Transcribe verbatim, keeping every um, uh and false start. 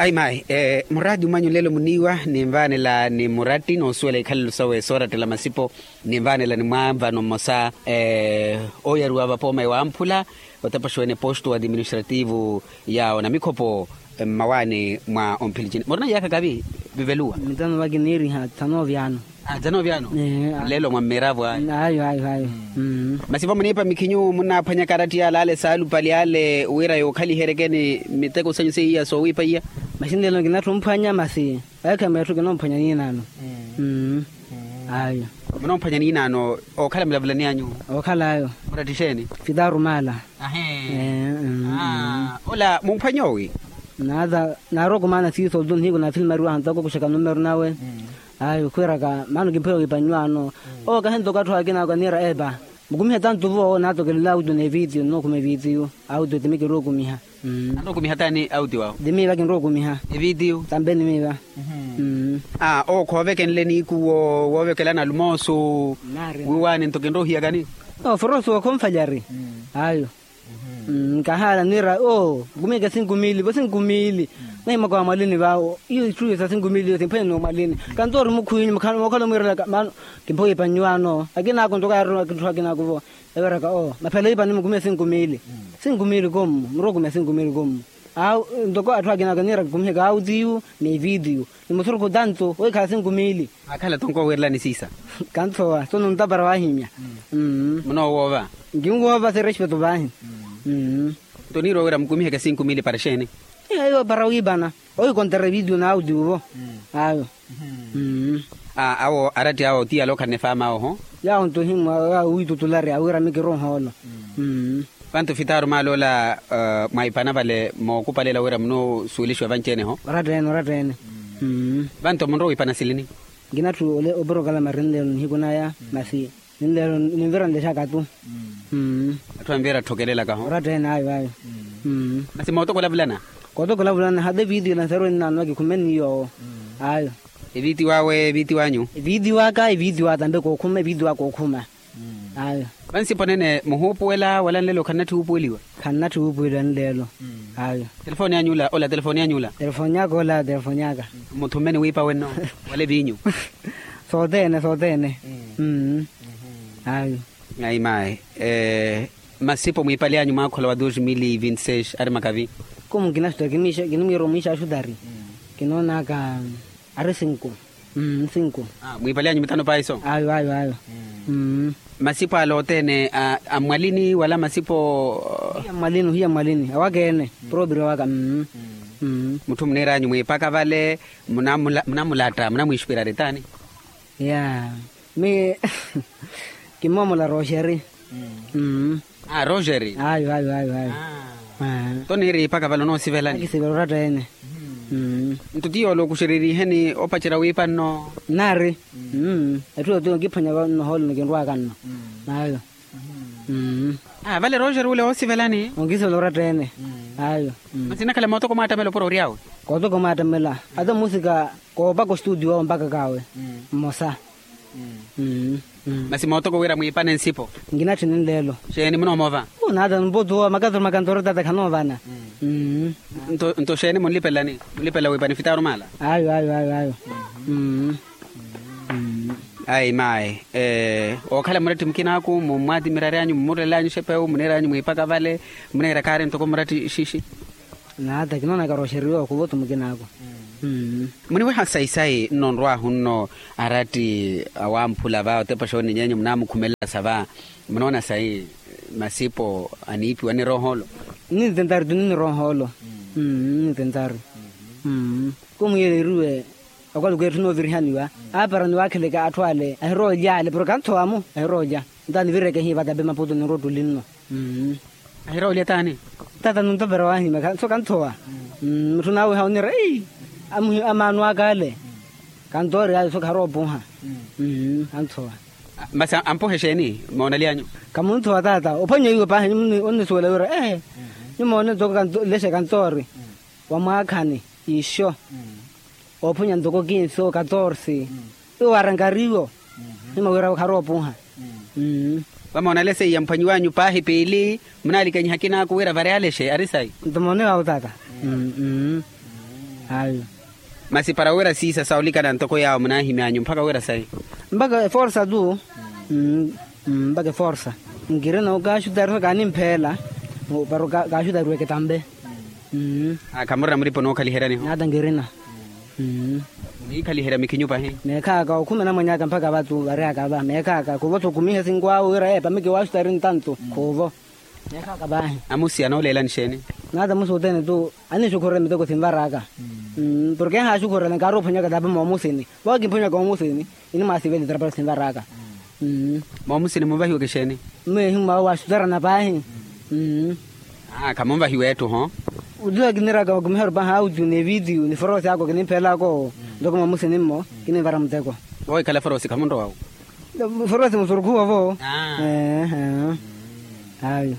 Ayi mayi, muraati mwanyu nlelo muniiwa ninvaanela ni muratti noosuwela ikhalelo sawe soorattela masipo. Ninvaanela ni mwaavano mmosa ooyariwa vapooma ewamphula, otepaxiwene posto administrativo ya onamikhopho mmawaani mwa omphilicini murina iyaakha kavi. Viveluwa. Mitano vakiniiriha thano vyaano. Thano vyaano. Lelo mwa mmiravwa. Ayo ayo ayo. Masi va muniipa mikhinyu munnaaphwanyaka aratti yale ale saalupali ale wira yookhaliheryekeni miteko sanyu seiya soowiipa iya. Masi nlelo nkinatthi omphwanya masi. Ekhemba etthu kinoomphwanya niinaano. Ayo. Munoomphwanya niinaano. Ookhala mulavulani anyu. Ookhala ayo. Muratti xeeni? Fitaru maala. Ahee. Ola mumphwanya owi. Naata naarokumaana siiso otu nihiku naafilmariwa hantaka okuxaka numero nawe. Ayo khwiiraka maano kimpheya owiipanyu ano. Owo kahi ntoko atthu akina ako aniira epa. Mukumihe tantu vo naatokelela audio n'evitiyo nnookhuma evitiyo. Audio timi kirookumiha. Anookumiha taani audio awo? Timi va kinrookumiha. Evitiyo. Tambeni miva. Owo khoovekenle niikuwo woovekelana alumoosu. Wiiwaani nto kinroohiyakani. Oforoso okhomfalyari. Ayo. Nkahaala niira oo nkumiheke sinkumili vo sinkumili. Nahimaka wa mwalini vawo iyo itthu iyo sa sinkumili iyo simphwene n'omwalini. Kantoori mukhwinyu mookhala omwiirelaka maano. Kimphowa ipanyu ano akinaako ntoko yaarina kitthu akinaako vo. Eweraka oo maphela ipanyu mukumihe sinkumili. Sinkumili kommu murookumiha sinkumili kommu. Awo ntoko atthu akinaako aniira kikumiheke autiyu n'evitiyu. Ni musurukhu tanto wikhala sinkumili. Akhala tonko wiirelani siisa. Kanthowa sono ntapara wahimya. Munoowoova. Nkinwoova serespeto vaahi. Nto niirwa wira mukumiheke sinkumili para xeeni? Iyo para wiipana owikonterya evitiyo n'autiyu vo. Ayo. Awo aratti awo ti yala okhalana efaama awo ho. Yawo nto himwa yawo wiitutulari awira mikiro nhoolo. Vantu fitaru maala ola mwaipana vale mookupalela wira munoosuwelixiwa vanci-ene ho. Oratta-ene oratta-ene. Vantu munrowa wiipana silini? Nkinatthu oporokalama rinlelo nihiku naya masi ninlelo ninvira nlexaka tu. Atthu anvira atthokelelaka ho oratta-ene ayo ayo. Masi mootoko olavulana? Kootoko olavulana hata evitiyo elansaru ennaano akikhumeni yoowo. Ayo. Evitiyo awe evitiyo anyu? Evitiyo aka evitiyo aka tambe kookhuma evitiyo aka kookhuma. Ayo. Vansipo nene muhuupuwela wala nlelo khannatthi wuupuweliwa? Khannatthi wuupuweliwa nlelo. Ayo. Telefoni anyu ola ola telefoni anyu ola? Telefoni aka ola telefoni aka. Muthummeni wiipa wenno wala eviinyu? Sothene sothene. Ayo. Ayi mayi. Masipo mwiipali anyu mwaakhola wa dos mil e vinte seis ari makavi? Komu nkinasuta kinimwiira omwiixaxutari. Kinoonaka ari sinku. Sinku. Mwiipali anyu mitano paiso? Ayo ayo ayo. Masipo ala othene a mmwalini wala masipo? Hiya mmwalini hiya mmwalini awaka-ene. Propria waka. Mutthu muniira anyu mwiipaka vale munamulatta munamwiixupirari taani? Ya. Mi kimoomola roxeri. Roxeri. Ayo ayo ayo ayo. Toniiri ipaka vale onoosivelani? Akisivela oratta-ene. Nto ti yoola okuxereriheni opacerya wiipa nno? Nnaari. Etthu yootiwa okiphwanya vano nohoolo nikinrwaka nno. Ayo. Vale roxeri wule oosivelani? Onkisivela oratta-ene. Ayo. Masi nakhala mootoko mwaattamela opuro ory'awe? Kootoko mwaattamela. Ata muusika koopaka ostuutiyo wawe ompakaka awe. Mmosa. Masi mootoko wira mwiipane nsipo? Nkinatthi ninleelo. Xeeni munoomoova? Naata mputu owa makatoro makantoro taata khanoovana. Nto xeeni munlipelelani? Munlipelela wiipani fitaru maala? Ayo ayo ayo ayo. Ayi mayi. Ookhala muratti mukinaaku mummwaatimiraryanyu mumurelelyanyu xepewu muniiryanyu mwiipaka vale? Muniira kaari ntoko muratti xixi. Naata kinoonaka roxeriwa okhuvotu mukinaaku. Muniweha sayi-sayi nno nrwaahu nno aratti awamphula va otepa xooninyenyu munaamukhumelela sa va? Munoona sayi masipo aniipiwa niroohoolo? Nintentari tu niroohoolo. Nintentari. Kumwiyeleriwe. Okwaluku etthu noovirihaniwa aapara ni waakheleke atthu ale ahiroolya ale porke anthowa-mo ahiroolya. Nto anivireke hiiva tambe maputu ninrottuli nno. Ahiroolya taani? Tata nintopera wahimya so kanthowa. Mutthu naawiha oniira ei amaano aka ale. Kantoori ayo so kharoopuha. Kanthowa. Masi ampuha exeeni moonalyanyu? Kamunthowa tata ophwanya iwe paahi onnisuwela wira ehe. Nimoone ntoko lexe kantoori wa mwaakhani ixo. Oophonya ntoko kinsi o katorsi. Iwo aranka ariwo. Nima wira kharoopuha. Vamoonale seiya mphwanyiwanyu paahi piili. Munaalikanyiha kinaaku wira vari alexe ari sayi. Nto moone wawo tata. Ayo. Masi para wira siisa sa olikana ntoko yaawo munaahimyanyu mpaka wira sayi? Mpaka eforsa tu. Mpaka eforsa. Nkirina okaxutari sa kaanimphela. Para kaxutariweke tampe. Khamurina muripo nookhaliheryaniho? Nata nkirina. Muniikhaliherya mikhinyu pahi? Meekhaaka okhumena mwenyaka mpaka vatu variyaka va meekhaaka khuvo tho khumihe sinkwawe wira epa miki waxutari ntantu khuvo. Neekhaaka paahi. Amusi anooleelani xeeni? Nata musi othene tu anixukhurela miteko sinvaraka. Porke enhaaxukhurela nkaarowa ophwanyaka tapa moomusini voowa kimphwanyaka moomusini. Inimwaasivele tarapara sinvaraka. Moomusini munvahiweke xeeni? Mmeehi mwawe waaxutarana paahi. Khamunvahiwa etthu ho. Otuwa kiniraka okumiharu paahi audio ni video ni foroosi ako kinimphelaako. Ntoko moomusini mmo kinimvara muteko. Voohikhala foroosi khamunrowa wo? Foroosi musurukhuwa vo. Ayo.